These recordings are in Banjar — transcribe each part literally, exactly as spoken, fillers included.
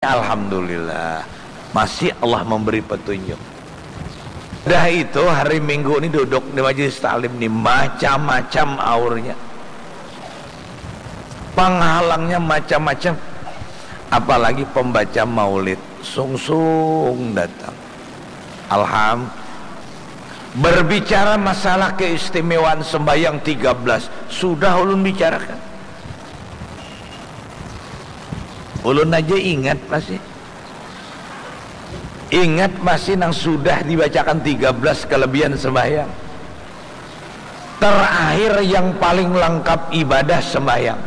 Alhamdulillah, masih Allah memberi petunjuk. Dah itu, hari Minggu ni duduk di majelis taklim ni, macam-macam aurnya. Penghalangnya macam-macam. Apalagi pembaca maulid, sungsung datang. Alham, berbicara masalah keistimewaan sembahyang tiga belas, sudah ulun bicarakan. Ulun aja ingat masih. Ingat masih nang sudah dibacakan tiga belas kelebihan sembahyang. Terakhir yang paling lengkap ibadah sembahyang.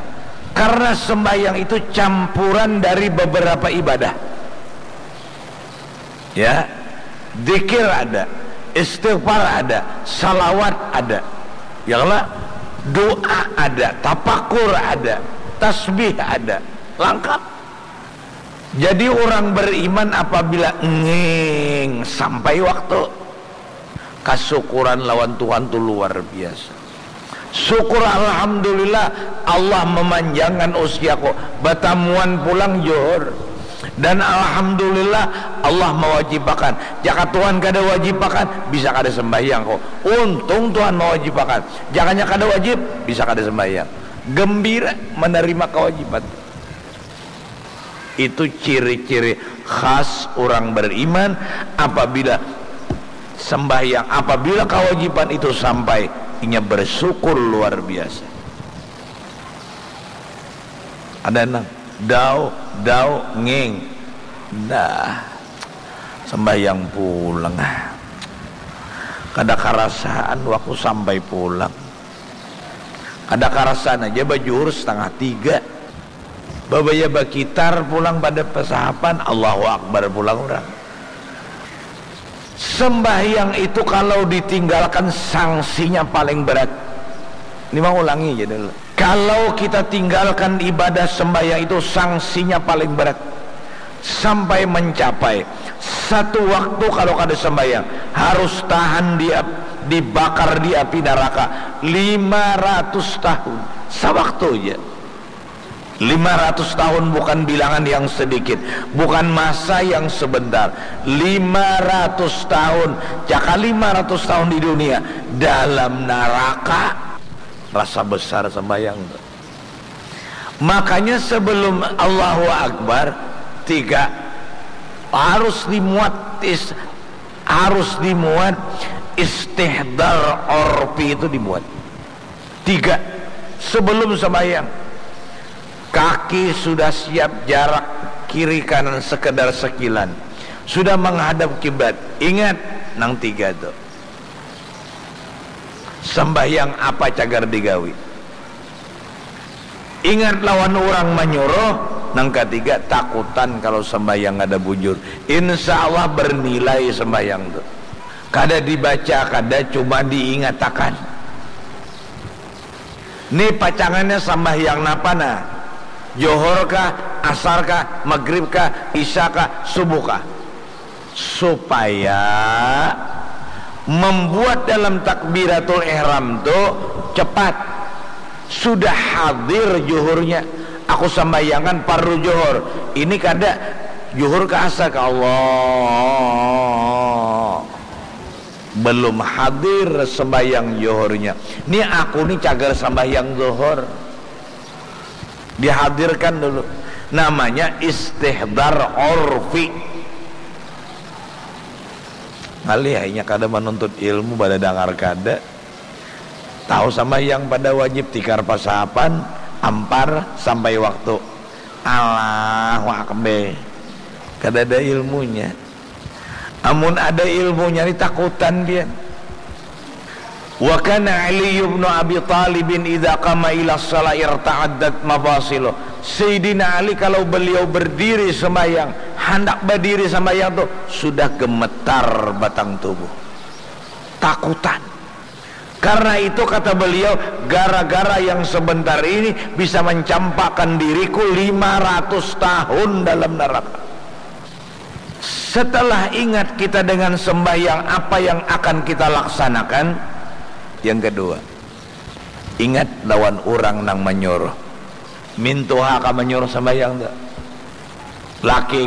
Karena sembahyang itu campuran dari beberapa ibadah. Ya, zikir ada, istighfar ada, salawat ada. Ya Allah, doa ada, tapakur ada, tasbih ada. Lengkap. Jadi orang beriman apabila nging sampai waktu, kasukuran lawan Tuhan tu luar biasa. Syukur alhamdulillah, Allah memanjangkan usiaku, batamuan pulang Johor. Dan alhamdulillah, Allah mewajibakan. Jaka Tuhan kada wajibakan, bisa kada sembahyang ko. Untung Tuhan mewajibakan. Jakanya kada wajib, bisa kada sembahyang. Gembira menerima kewajiban. Itu ciri-ciri khas orang beriman. Apabila sembahyang, apabila kewajiban itu sampai, inya bersyukur luar biasa. Ada nang dau dau nging, dah, sembahyang pulang. Kada karasaan waktu sampai pulang. Kada karasaan aja bajuhur setengah tiga. Babaya bakitar pulang pada pasahapan, Allahu Akbar pulang urang. Sembahyang itu kalau ditinggalkan, sanksinya paling berat. Ini mau ulangi aja dulu. Kalau kita tinggalkan ibadah sembahyang itu, sanksinya paling berat. Sampai mencapai satu waktu kalau kada sembahyang, harus tahan di ap-, dibakar di api neraka lima ratus tahun. Sawaktu aja. Lima ratus tahun bukan bilangan yang sedikit, bukan masa yang sebentar. Lima ratus tahun, jaka lima ratus tahun di dunia, dalam neraka. Rasa besar sembahyang tu. Makanya sebelum Allahu Akbar, tiga, harus dimuat is-, harus dimuat istihdar urfi itu dimuat. Tiga, sebelum sembahyang, kaki sudah siap jarak kiri kanan sekedar sekilan, sudah menghadap kiblat. Ingat nang tiga tu. Sembahyang apa cagar digawi? Ingat lawan urang manyuruh. Nang katiga, takutan kalau sembahyang kada bujur. Insya Allah bernilai sembahyang tu. Kada dibaca, kada, cuma diingatakan. Ni pacangannya sambahyang napa nah? Johor kah, asar kah, maghrib kah, isya kah, subuh kah? Supaya membuat dalam takbiratul ihram tu cepat. Sudah hadir juhurnya. Aku sambayangan parlu johor. Ini kada, juhur ka asar ka Allah. Belum hadir sembahyang johornya. Ni aku ni cagar sambahyang johor. Dihadirkan dulu. Namanya istihdar urfi. Ngalih, inya kada menuntut ilmu, badadangar kada. Tahu sambahyang pada wajib, tikar pasahapan, ampar sampai waktu. Allahu Akbar. Kada ada ilmunya. Amun ada ilmunya ni takutan pian. Wa kana Ali ibnu Abi Talibin idza qama ila shalah irta'addat mafasiluh. Sayyidina Ali kalau beliau berdiri sembahyang, handak berdiri sembahyang tu sudah gemetar batang tubuh. Takutan. Karena itu kata beliau, gara-gara yang sebentar ini bisa mencampakkan diriku lima ratus tahun dalam neraka. Setelah ingat kita dengan sembahyang, apa yang akan kita laksanakan? Yang kedua, ingat lawan urang nang manyuruh. Mintuha ka manyuruh sembahyang tu. Laki